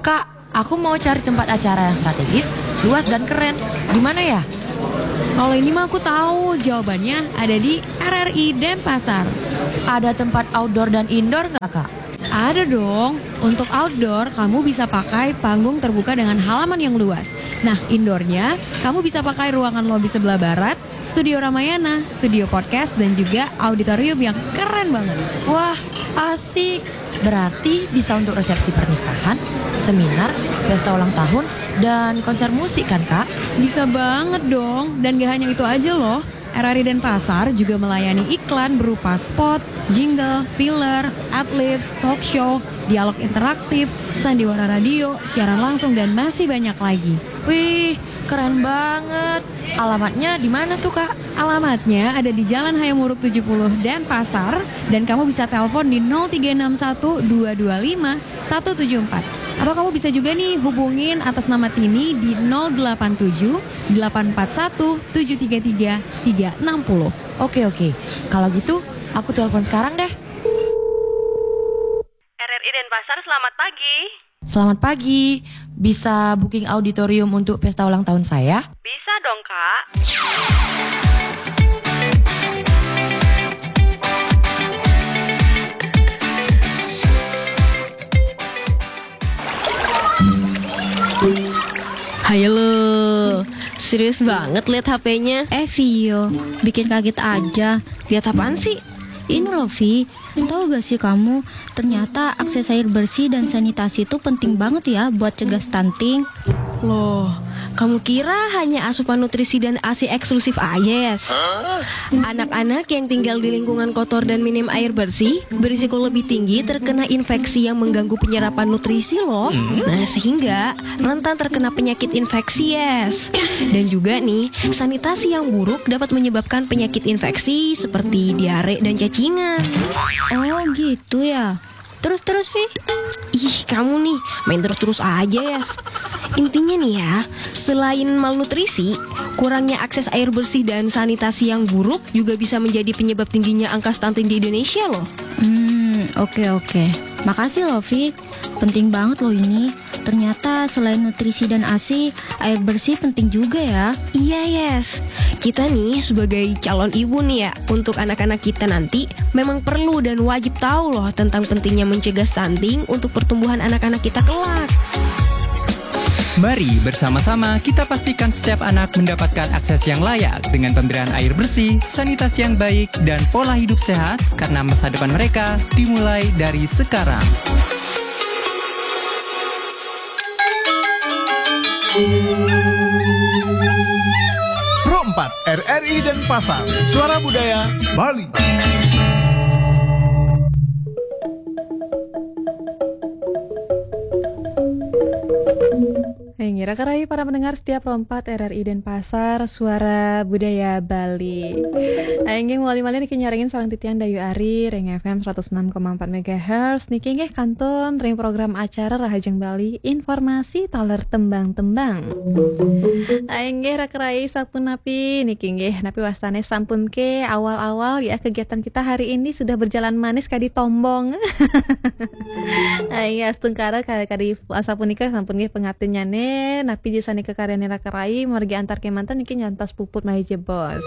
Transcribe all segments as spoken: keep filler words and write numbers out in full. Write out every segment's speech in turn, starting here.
Kak, aku mau cari tempat acara yang strategis, luas dan keren. Di mana ya? Kalau ini mah aku tahu, jawabannya ada di R R I Denpasar. Ada tempat outdoor dan indoor nggak, Kak? Ada dong. Untuk outdoor, kamu bisa pakai panggung terbuka dengan halaman yang luas. Nah, indoornya, kamu bisa pakai ruangan lobi sebelah barat, studio Ramayana, studio podcast, dan juga auditorium yang keren banget. Wah, asik. Berarti bisa untuk resepsi pernikahan, seminar, pesta ulang tahun, dan konser musik kan, Kak? Bisa banget dong. Dan gak hanya itu aja loh. R R I Denpasar juga melayani iklan berupa spot, jingle, filler, adlibs, talk show, dialog interaktif, sandiwara radio, siaran langsung, dan masih banyak lagi. Wih, keren banget. Alamatnya di mana tuh, Kak? Alamatnya ada di Jalan Hayam Wuruk tujuh puluh Denpasar, dan kamu bisa telepon di nol tiga enam satu dua dua lima satu tujuh empat. Atau kamu bisa juga nih hubungin atas nama Tini di nol delapan tujuh delapan empat satu tujuh tiga tiga tiga enam nol. Oke, oke. Kalau gitu, aku telepon sekarang deh. R R I Denpasar, selamat pagi. Selamat pagi. Bisa booking auditorium untuk pesta ulang tahun saya? Bisa dong, Kak. Hai lo, serius banget lihat H P-nya. Eh, Vio, bikin kaget aja. Lihat apaan sih? Ini loh, Vi. Tahu gak sih kamu, ternyata akses air bersih dan sanitasi itu penting banget ya buat cegah stunting. Loh, kamu kira hanya asupan nutrisi dan A S I eksklusif aja, Yes? Anak-anak yang tinggal di lingkungan kotor dan minim air bersih berisiko lebih tinggi terkena infeksi yang mengganggu penyerapan nutrisi loh. Nah, sehingga rentan terkena penyakit infeksi, Yes. Dan juga nih, sanitasi yang buruk dapat menyebabkan penyakit infeksi seperti diare dan cacingan. Oh gitu ya. Terus-terus, Vi? Ih, kamu nih main terus-terus aja, Yes. Intinya nih ya, selain malnutrisi, kurangnya akses air bersih dan sanitasi yang buruk juga bisa menjadi penyebab tingginya angka stunting di Indonesia loh. Hmm, oke, oke. Makasih loh, Vi. Penting banget loh ini. Ternyata selain nutrisi dan A S I, air bersih penting juga ya. Iya, Yes. Kita nih sebagai calon ibu nih ya, untuk anak-anak kita nanti memang perlu dan wajib tahu loh tentang pentingnya mencegah stunting untuk pertumbuhan anak-anak kita kelak. Mari bersama-sama kita pastikan setiap anak mendapatkan akses yang layak dengan pemberian air bersih, sanitasi yang baik, dan pola hidup sehat, karena masa depan mereka dimulai dari sekarang. Pro empat, R R I Denpasar, Suara Budaya Bali. Hai, ngira kerai para pendengar setiap Pro empat R R I Denpasar, Suara Budaya Bali. Inggih, mawali malih niki nyarengin sareng titiang Dayu Ari ring F M seratus enam koma empat megahertz. Niki inggih kantun ring program acara Rahajeng Bali, informasi taler tembang-tembang. Inggih, raka rai, sapunapi niki inggih, napi wastane sampun ke awal-awal ya, kegiatan kita hari ini sudah berjalan manis kadi tombong. Inggih, astungkara ka-, kadi asapunika sampun nggih pangaptinnyane, napi jisane kakaryane raka rai, margi antar kemanten niki nyantos puput malih jebos.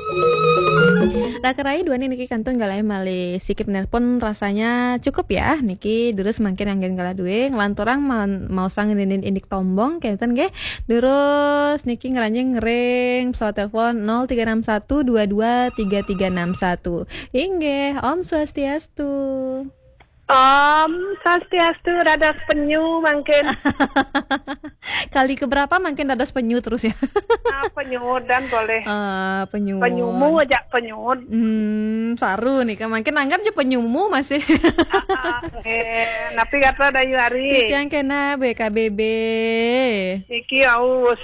Raka rai, duaning niki kantun galah malih sikip nelpon, rasanya cukup ya. Niki durus mangkin anggen galah due, nglanturang ma-, maosang nindin indik tombong, kenten nggih. Durus niki ngranjing ring pesawat telepon nol tiga enam satu dua dua tiga tiga enam satu. Inggih, Om Swastiastu. Om Swastiastu, dados penyu mangkin. Kali keberapa mangkin dados penyu terus ya? Ah, penyudan boleh. Ah, penyu. Penyumu aja penyud. Hmm, saru nih, kan mangkin anggap aja penyumu masih. Ah, ah, eh, napi kata Dayu Ari? Titiang kena B K B B. Iki aus.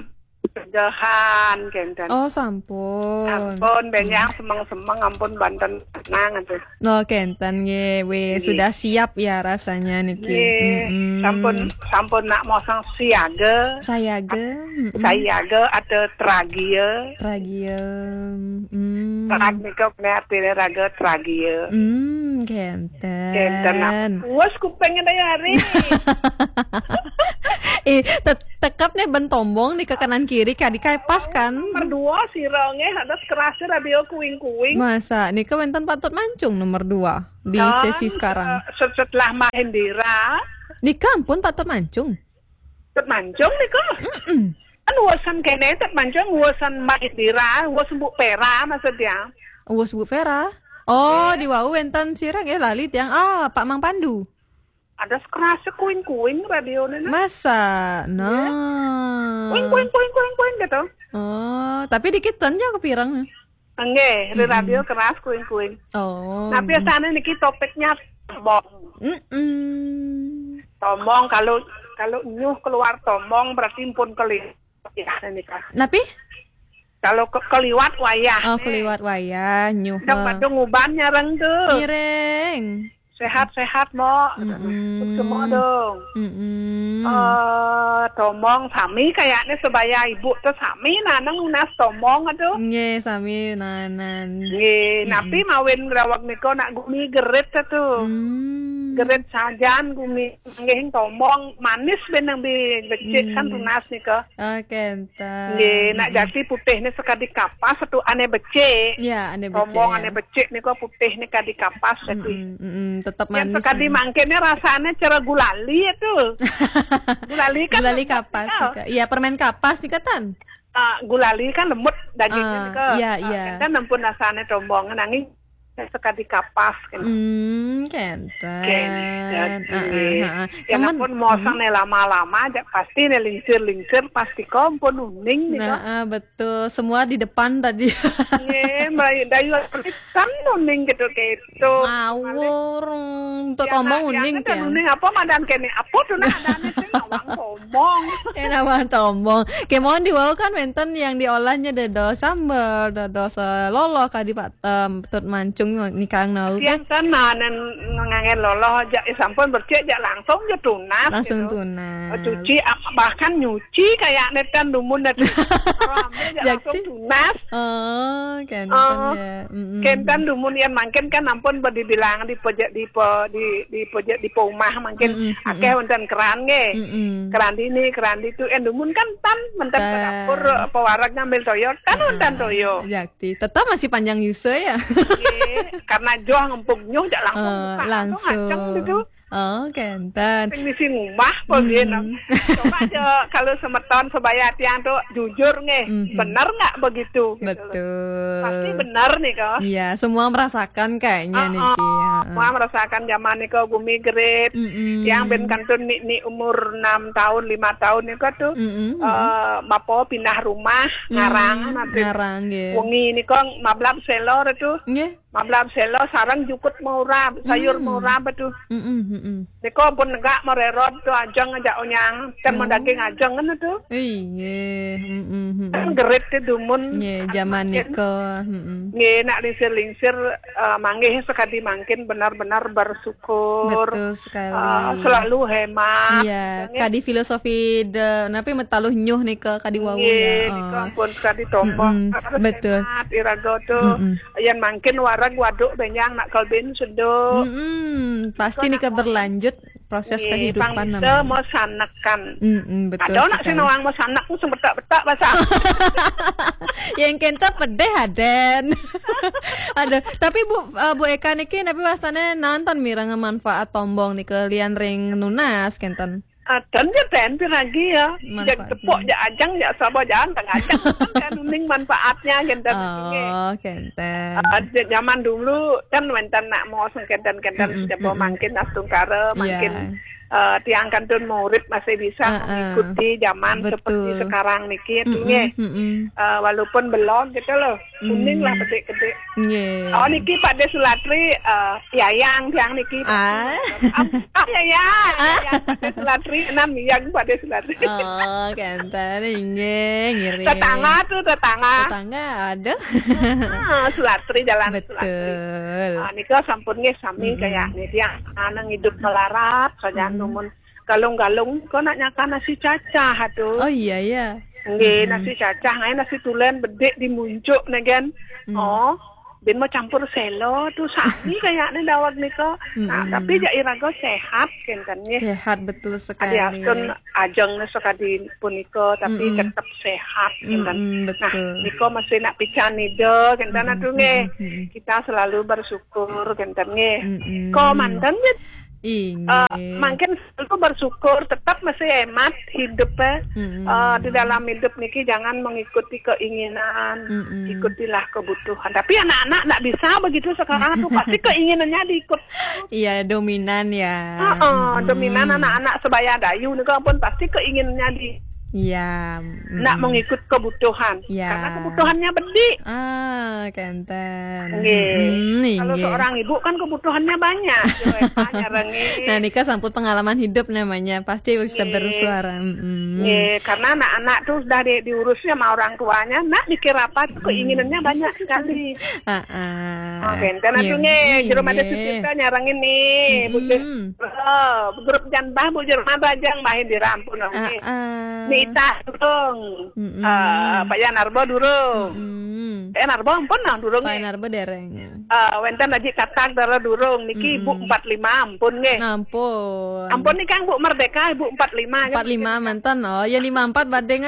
Kejahan, kenten. Oh, sampun. Ampun, benjang semeng-semeng, ampun, banten tenang atuh. Oh, kenten nggih. Wih, nggih. Sudah siap ya rasanya niki. Nggih, mm-mm. Sampun, sampun nak mosong siaga. Sayaga, mm-mm. Sayaga ada tragia. Tragia, mm. Saat nika kena artine raga tragia. Mm, kenten. Kenten nak. Puas kupingnya Dayu Ari. Tet- Tekep nih ben tombong nih ke kanan kiri, kadi kai pas kan. Nomor dua sira nggih, atus kerase radio kuing-kuing. Masa nika wenten Pak Tut Mancung nomor dua di sesi sekarang. Eh, set- setelah Mahendira. Nika ampun Pak Tut Mancung. Tut Mancung nika. Mm-mm. Kan wusan kene Tut Mancung, wusan Mahendira, wusan Bu Pera maksudnya. Wus Bu Vera. Oh, di wau wenten sira nggih lali tiang. Ah, Pak Mang Pandu. Ada kerasa kuing-kuing radio nena. Masa? Nah. Kuing, kuing, kuing, kuing, kuing gitu. Oh, tapi dikit aja kepireng. Enggak, di radio keras kuing-kuing. Oh. Nah, biasanya niki topiknya tombong. Mm-mm. Tombong, kalau kalau nyuh keluar tombong berarti pun keli. Ya, nika. Napi? Kalau ke keliwat wayah. Oh, keliwat wayah, nyuh. Dong badung uban nyareng tuh. Ngiring. Sehat-sehat, Mo. Mm-mm. Semua dong. Mm-mm. Eh, tombong sami kayaknya sebaya ibu tuh sami nanang nunas tombong aduh. Nggih, sami nanan. Nggih, napi mawin rawak nika nak gumi gerit tuh. Hmm. Gerit sajan gumi nggih tombong manis benang bi becik kan tunas nika. Oke, enten. Nggih, nak jati putih ni sekadi kapas satu ane becik. Ya, ane becik. Tombong ane becik nika putih ni kadi kapas satu. Mm-mm, mm-mm, tetap manis. Yang sekadi mangkin ni rasanya cara gulali itu. Gulali kan gulali kapas nika. Iya, permen kapas nika tan. Ah, gulali kan lembut dagingnya nika. Iya, iya. Kan ampun rasanya tombong nanging sekadi kapas kan. Hmm, kenten. Kenten. Heeh, heeh. Ya ampun mosong nih lama-lama aja pasti nih lingsir-lingsir pasti kompon uning nih. Nah, ah, betul. Semua di depan tadi. Iya, Mbak Dayu kan uning gitu gitu. Ngawur. Untuk omong uning kan. Uning apa madan kene? Apa tuh nah adane sing ngawang omong. Enak banget omong. Kemon di wau kan wenten yang diolahnya dados sambel, dados eh, loloh kadi Pak em, Tut Mancung nikang nau kan. Yang kan nah, nen nganggen loloh aja eh, sampun becik aja langsung aja tunas. Langsung gitu. Tunas. Oh, cuci ap- bahkan nyuci kayak netan dumun netan. Kalau ambil aja langsung tunas. Oh, kenten ya. Mm-mm. Kenten dumun yang mangkin kan ampun dibilang di pojok di po, di di pojok di po umah mangkin akeh wonten keran nggih. Mm-mm. Keran dini, keran ditu en dumun kan tan menten ke dapur apa warag ngambil toyo kan wonten toyo. Yakti. Tetap masih panjang yuse ya. Nggih, karena joh ngempuk nyuh jak langsung buka, langsung ngaceng gitu. Oh, kenten. Sing misi ngumah apa nggih, nah. Coba aja kalau semeton sebaya tiang tuh jujur nggih, bener nggak begitu gitu loh. Betul. Pasti bener nih kok. Iya, semua merasakan kayaknya niki. Heeh. Semua merasakan zaman niko gumi gerit. Mm-mm. Yang ben kantun ni, ni umur enam tahun, lima tahun niko tuh eh mapo pindah rumah ngarang nanti. Ngarang nggih. Wengi niko mablab selor itu. Nggih. Mablab selo sarang jukut maurab, sayur maurab tu. Mm-mm, mm-mm. Niko pun negak mererot tu ajeng aja onyang, kan mau daging ajeng kan tu. Iya, mm-mm, mm-mm. Kan gerit tu dumun. Iya, zaman niko, mm-mm. Nggih, nak lingsir-lingsir eh, manggih sekadi mangkin benar-benar bersyukur. Betul sekali. Eh, selalu hemat. Iya, kadi filosofi de napi metaluh nyuh nika kadi wau ya. Nggih, nika pun kadi tombong. Mm-mm, harus betul. Hemat iraga tu. Mm-mm. Yan mangkin wareg waduk benjang nak kelbin seduk. Mm-mm, pasti nika berlanjut proses kehidupan namanya. Pangisa mau sanekan. Mm-mm, betul. Ada nak sing nawang mau sanek sing betak-betak bahasa. Yang kenta pedih aden. Aduh, tapi Bu eh, Bu Eka niki napi wastane nonton mireng manfaat tombong nika lian ring nunas kenten. Aden ya ben piragi ya. Manfaatnya. Tepuk ya ajang ya sapa jalan tengah ajang kan uning manfaatnya kenten. Oh, kenten. Zaman dulu kan wenten nak mau sengkenten-kenten sejaba mangkin astungkara mangkin eh, tiang kantun murid masih bisa mengikuti zaman seperti sekarang niki itu nggih. Eh, walaupun belum gitu loh. Kuning lah bedik-bedik. Nggih. Oh niki Pak Desulatri eh, yayang tiang niki. Ah. Ah, yayang. Yayang Pak Desulatri enam yayang Pak Desulatri. Oh, kenten nggih, ngiring. Tetangga tuh tetangga. Tetangga ada. Ah, Sulatri jalan Sulatri. Betul. Ah, nika sampun nggih sami kayak nih tiang ana ngidup melarat saja numun galung-galung kok nak nyaka nasi cacah tuh. Oh iya ya. Nggih, nasi cacah ngai nasi tulen bedik di muncuk negen. Oh. Bin mau campur selo tuh sami kayaknya daweg nika. Nah, tapi jak iraga sehat kenten nggih. Sehat betul sekali. Adiastun ajeng sakadi punika tapi tetap sehat kenten. Nah, betul. Nika masih nak pican ida kenten atuh nggih. Kita selalu bersyukur kenten nggih. Kok manten nggih. Inggih. Eh, mungkin selalu bersyukur, tetap mesti hemat hidup ya. Eh, di dalam hidup niki jangan mengikuti keinginan, ikutilah kebutuhan. Tapi anak-anak nggak bisa begitu sekarang tuh, pasti keinginannya diikut. Iya, dominan ya. Heeh, dominan anak-anak sebaya dayu nika pun pasti keinginannya di Iya, nak mengikut kebutuhan. Iya. Karena kebutuhannya bedik. Ah, kenten. Nggih. Kalau seorang ibu kan kebutuhannya banyak. Yo, Eva nyarengin. Nah, nika sampun pengalaman hidup namanya. Pasti bisa bersuara. Nggih, karena anak-anak tuh sudah di, diurusnya sama orang tuanya, nak mikir apa tuh keinginannya banyak sekali. Heeh. Oh, kenten atuh nggih, jero mati sucinta nyarengin nih, Bu Jero, grup janbah Bu Jero mabajang main dirampun nggih. Nita durung. Eh, Pak Yan Arbo durung. Pak Yan Arbo ampun nah durung. Pak Yan Arbo dereng. Eh, wenten Haji Katak dara durung. Niki Ibu empat lima ampun nggih. Ampun. Ampun nih Kang Bu Merdeka Ibu empat lima. Empat lima mantan. Oh, ya lima empat badeng.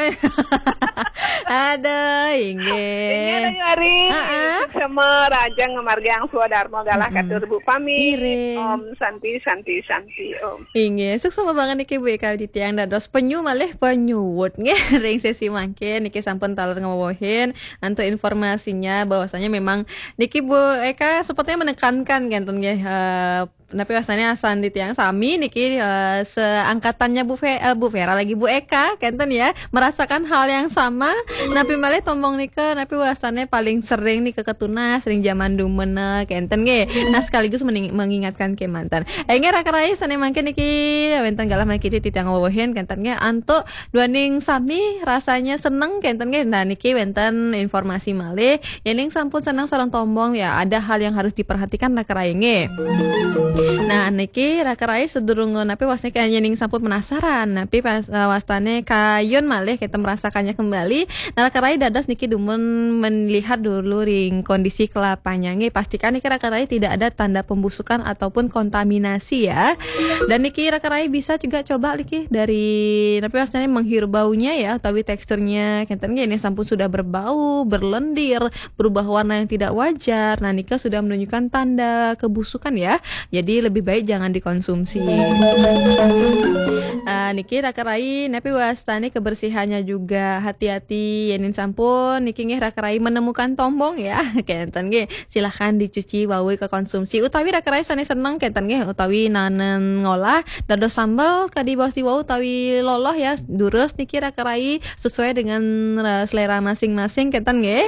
Aduh, inggih. Inggih Ayu Ari. Heeh. Sama Raja Ngemargiang Swadarma galah katur Bu pamit. Ngiring. Om Santi Santi Santi Om. Inggih, suksma banget niki Bu Eka titiang dados penyu malih penyuwut nggih ring sesi mangkin niki sampun taler ngawehin antuk informasinya bahwasanya memang niki Bu Eka sepertinya menekankan kenten nggih eh, napi wastane asan titiang sami niki eh, seangkatannya Bu Fe, eh, Bu Vera lagi Bu Eka kenten ya merasakan hal yang sama napi malih tombong nika napi wastane paling sering nika ketunas ring zaman dumena kenten nggih. Nah sekaligus mening- mengingatkan kemanten. Inggih raka rai sane mangkin niki wenten galah mangkin titiang wewehin kenten nggih antuk duaning sami rasanya seneng kenten nggih. Nah niki wenten informasi malih yening sampun seneng sareng tombong ya ada hal yang harus diperhatikan raka rai nggih. Nah niki raka rai sedurung napi wastane yening sampun penasaran napi pas, eh, wastane kayun malih kita merasakannya kembali. Nah raka rai dados niki dumun melihat dulu ring kondisi kelapanya nggih. Pastikan niki raka rai tidak ada tanda pembusukan ataupun kontaminasi ya. Dan niki raka rai bisa juga coba niki dari napi wastane menghirup baunya ya utawi teksturnya kenten nggih ini sampun sudah berbau, berlendir, berubah warna yang tidak wajar. Nah, nika sudah menunjukkan tanda kebusukan ya. Jadi lebih baik jangan dikonsumsi. Ah, niki raka rai napi wastane kebersihannya juga hati-hati yening sampun niki nggih raka rai menemukan tombong ya. Kenten nggih. Silahkan dicuci wau ke konsumsi utawi raka rai sane seneng kenten nggih utawi nanen ngolah dados sambel kadi baos di wau utawi loloh ya durus niki raka rai sesuai dengan eh, selera masing-masing kenten nggih.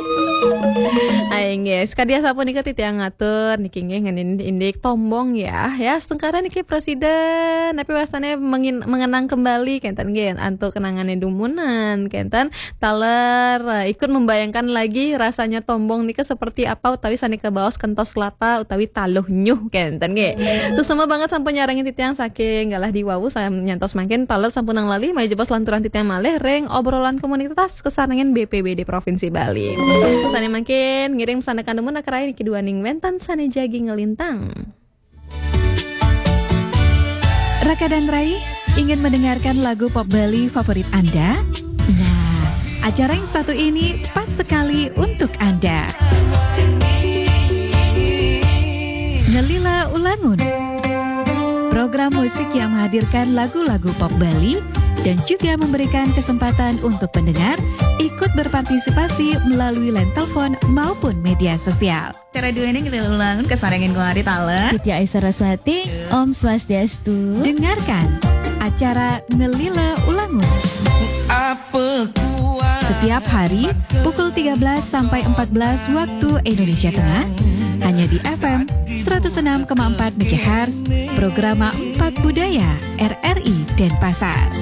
Ayo nggih sekadi sapunika titiang ngatur niki nggih ngenin indik tombong ya ya setengkara niki presiden tapi wastane mengin- mengenang kembali kenten nggih antuk kenangane dumunan kenten taler eh, ikut membayangkan lagi rasanya tombong nika seperti apa utawi sane kabaos kentos lata utawi taluh nyuh kenten nggih. Suksma banget sampun nyarengin titiang saking galah di wau saya nyantos mangkin taler sampun nang lali maya jebos lanturan titiang malih ring obrolan komunitas kesarengin B P B D Provinsi Bali. Sane mangkin ngiring pesan dekan demun akrai niki duaning wenten sane jagi ngelintang. Raka dan Rai, ingin mendengarkan lagu pop Bali favorit Anda? Nah, acara yang satu ini pas sekali untuk Anda. Ngelila Ulangun. Program musik yang menghadirkan lagu-lagu pop Bali dan juga memberikan kesempatan untuk pendengar ikut berpartisipasi melalui line telepon maupun media sosial. Cara duene ngelila ulangun kesarengin kuari taler. Titi Aisyah Saraswati, Om Swastiastu. Dengarkan acara Ngelila Ulangun. Setiap hari pukul tiga belas sampai empat belas waktu Indonesia Tengah hanya di F M seratus enam koma empat megahertz, programa empat Budaya R R I Denpasar.